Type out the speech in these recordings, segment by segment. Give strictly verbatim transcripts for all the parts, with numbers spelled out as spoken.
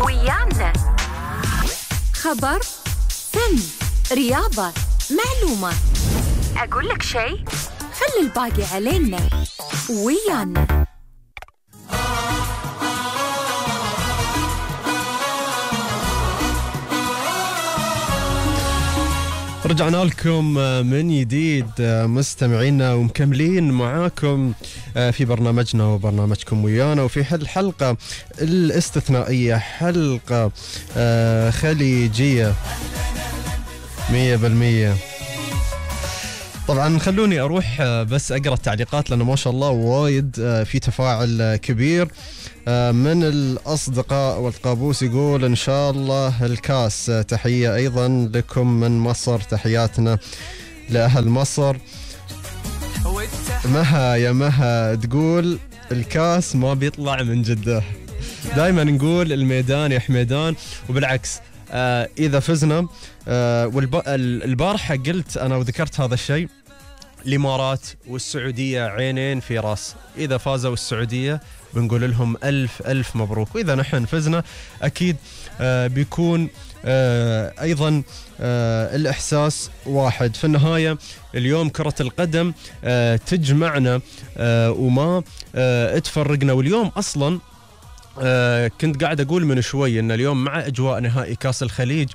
ويانا. خبر، فن، رياضة، معلومة. أقول لك شيء؟ خلي الباقي علينا. ويانا. رجعنا لكم من جديد مستمعينا ومكملين معاكم في برنامجنا وبرنامجكم ويانا، وفي هالحلقة الاستثنائية حلقة خليجية مية بالمية. طبعا خلوني أروح بس أقرأ التعليقات لأنه ما شاء الله وايد في تفاعل كبير من الأصدقاء. والقابوس يقول إن شاء الله الكاس. تحية أيضا لكم من مصر، تحياتنا لأهل مصر. مها يا مها تقول الكاس ما بيطلع من جدة. دايما نقول الميدان يا حميدان، وبالعكس آه إذا فزنا آه والبارحة قلت أنا وذكرت هذا الشيء، الإمارات والسعودية عينين في راس. إذا فازوا السعودية بنقول لهم ألف ألف مبروك، وإذا نحن فزنا أكيد آه بيكون آه أيضا آه الإحساس واحد. في النهاية اليوم كرة القدم آه تجمعنا آه وما آه تفرقنا. واليوم أصلا آه كنت قاعد أقول من شوي أن اليوم مع أجواء نهائي كاس الخليج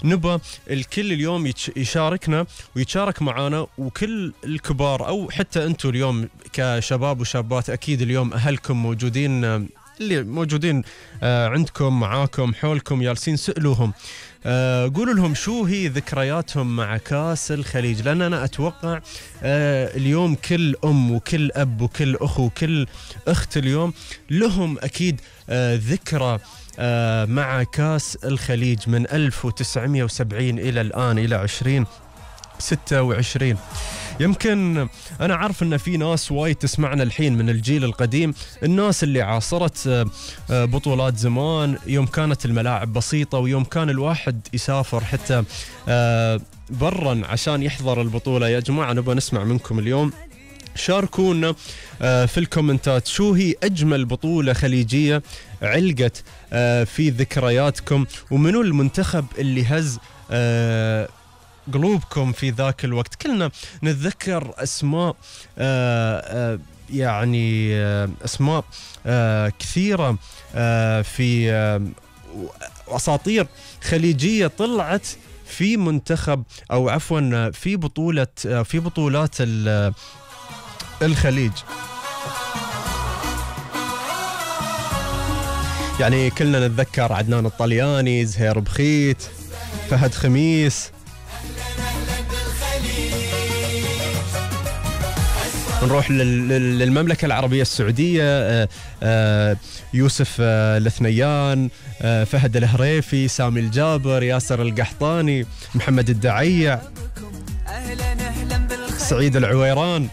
نبى الكل اليوم يشاركنا ويتشارك معنا، وكل الكبار أو حتى أنتم اليوم كشباب وشابات أكيد اليوم أهلكم موجودين، اللي موجودين آه عندكم معاكم حولكم جالسين، سألوهم آه قولوا لهم شو هي ذكرياتهم مع كاس الخليج، لأن أنا أتوقع آه اليوم كل أم وكل أب وكل أخو وكل أخت اليوم لهم أكيد آه ذكرى آه مع كاس الخليج من ألف وتسعمية وسبعين إلى الآن إلى عشرين ستة وعشرين. يمكن أنا عارف أن في ناس وايد تسمعنا الحين من الجيل القديم، الناس اللي عاصرت بطولات زمان يوم كانت الملاعب بسيطة، ويوم كان الواحد يسافر حتى برا عشان يحضر البطولة. يا جماعة نبغى نسمع منكم اليوم، شاركونا في الكومنتات شو هي أجمل بطولة خليجية علقت في ذكرياتكم، ومنو المنتخب اللي هز قلوبكم في ذاك الوقت. كلنا نتذكر أسماء آآ آآ يعني أسماء كثيرة في أساطير خليجية طلعت في منتخب أو عفوا في بطولة في بطولات الخليج. يعني كلنا نتذكر عدنان الطلياني، زهير بخيت، فهد خميس. نروح للمملكة العربية السعودية، يوسف الثنيان، فهد الهريفي، سامي الجابر، ياسر القحطاني، محمد الدعيع، سعيد العويران،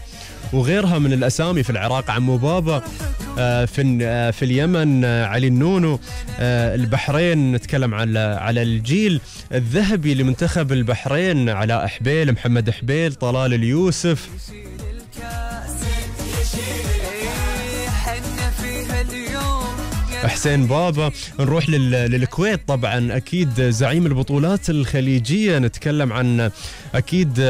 وغيرها من الأسامي. في العراق عمو بابا، في في اليمن علي النونو، البحرين نتكلم على على الجيل الذهبي لمنتخب البحرين، علاء حبيل، محمد حبيل، طلال اليوسف، حسين بابا. نروح للكويت طبعا أكيد زعيم البطولات الخليجية، نتكلم عن أكيد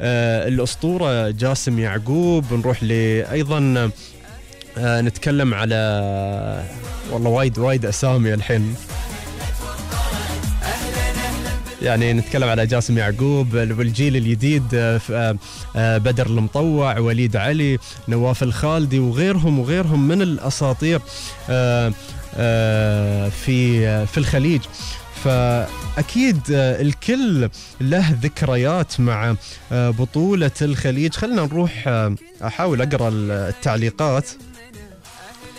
آه الأسطورة جاسم يعقوب. نروح لأيضا آه نتكلم على والله وايد وايد أسامي الحين، يعني نتكلم على جاسم يعقوب والجيل الجديد، بدر المطوع، وليد علي، نواف الخالدي، وغيرهم وغيرهم من الأساطير في في الخليج. فأكيد الكل له ذكريات مع بطولة الخليج. خلنا نروح أحاول أقرأ التعليقات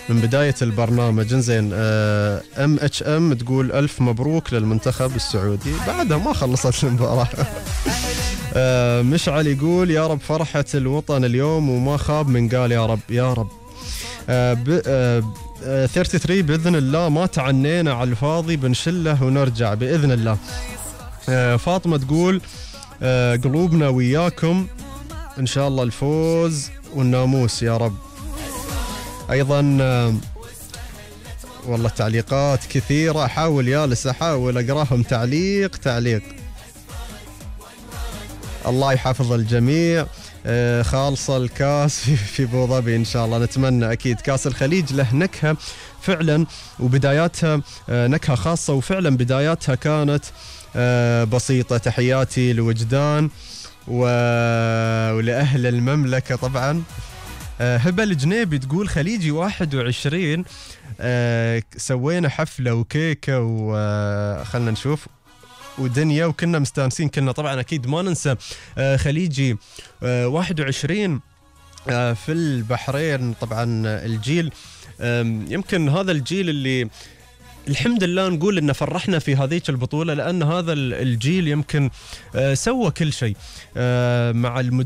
من بداية البرنامج. زين ام اتش ام تقول ألف مبروك للمنتخب السعودي، بعدها ما خلصت المباراة. مشعل يقول يا رب فرحة الوطن اليوم وما خاب من قال يا رب يا رب. ثلاثة وثلاثين بإذن الله ما تعنينا على الفاضي، بنشله ونرجع بإذن الله. فاطمة تقول قلوبنا وياكم إن شاء الله الفوز والناموس يا رب. أيضا والله تعليقات كثيرة، أحاول يالس أحاول أقراهم تعليق تعليق. الله يحفظ الجميع. آه خالصة الكاس في, في أبو ظبي إن شاء الله، نتمنى أكيد. كاس الخليج له نكهة فعلا، وبداياتها آه نكهة خاصة، وفعلا بداياتها كانت آه بسيطة. تحياتي لوجدان و... ولأهل المملكة طبعا. آه هبة الجنيبي تقول خليجي واحد وعشرين، آه سوينا حفلة وكيكة وخلنا نشوف ودنيا وكنا مستانسين كنا. طبعا أكيد ما ننسى آه خليجي آه واحد وعشرين آه في البحرين. طبعا الجيل آه يمكن هذا الجيل اللي الحمد لله نقول إنه فرحنا في هذيك البطولة، لأن هذا الجيل يمكن آه سوى كل شيء آه مع المدرب